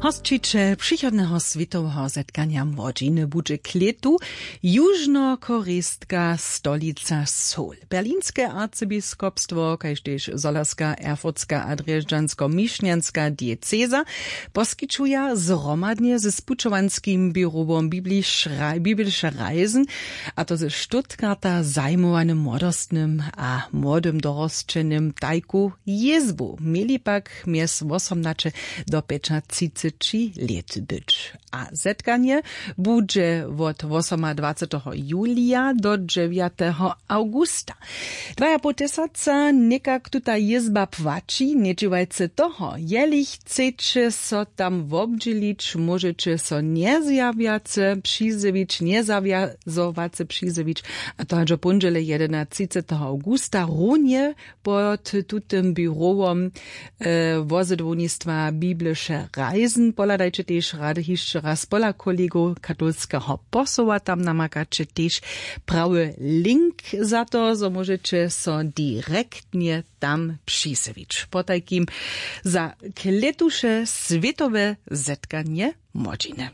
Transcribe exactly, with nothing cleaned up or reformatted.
Hosćićel přichodneho swětoweho zetkanja młodźiny budźe klětu južnokorejska stolica Seoul. Berlinske arcybiskopstwo kaž tež solerska, erfurtska a drježdźansko-mišnjanska dieceza poskićuja zhromadnje ze spućowanskim běrowom biblische reisen, a to ze stuttgarta zajmowanym młodostnym a młodym dorosćenym tajku jězbu. Měli pak mjez wosomnaće do pjećatřiceći lět być. A zetkanje budźe wot wosomadwaceteho julija do dźewjateho awgusta. Dwajapołtysaca někak tuta jězba płaći. Njedźěłajce toho, jeli chceće so tam wobdźělić, móžeće so njezjawjace přizjewić njezawjazowace přizjewić. A to hač do póndźele jedenatřiceteho awgusta runje pod tutym běrowom wozydłownistwa biblische reisen. Pohladajće tež rady hišće raz pola kolegow katolskeho posoła, tam namakaće tež prawy link za to, zo móžeće so direktnje tam přisywić potajkim za klětuše swětowe zetkanje młodźiny.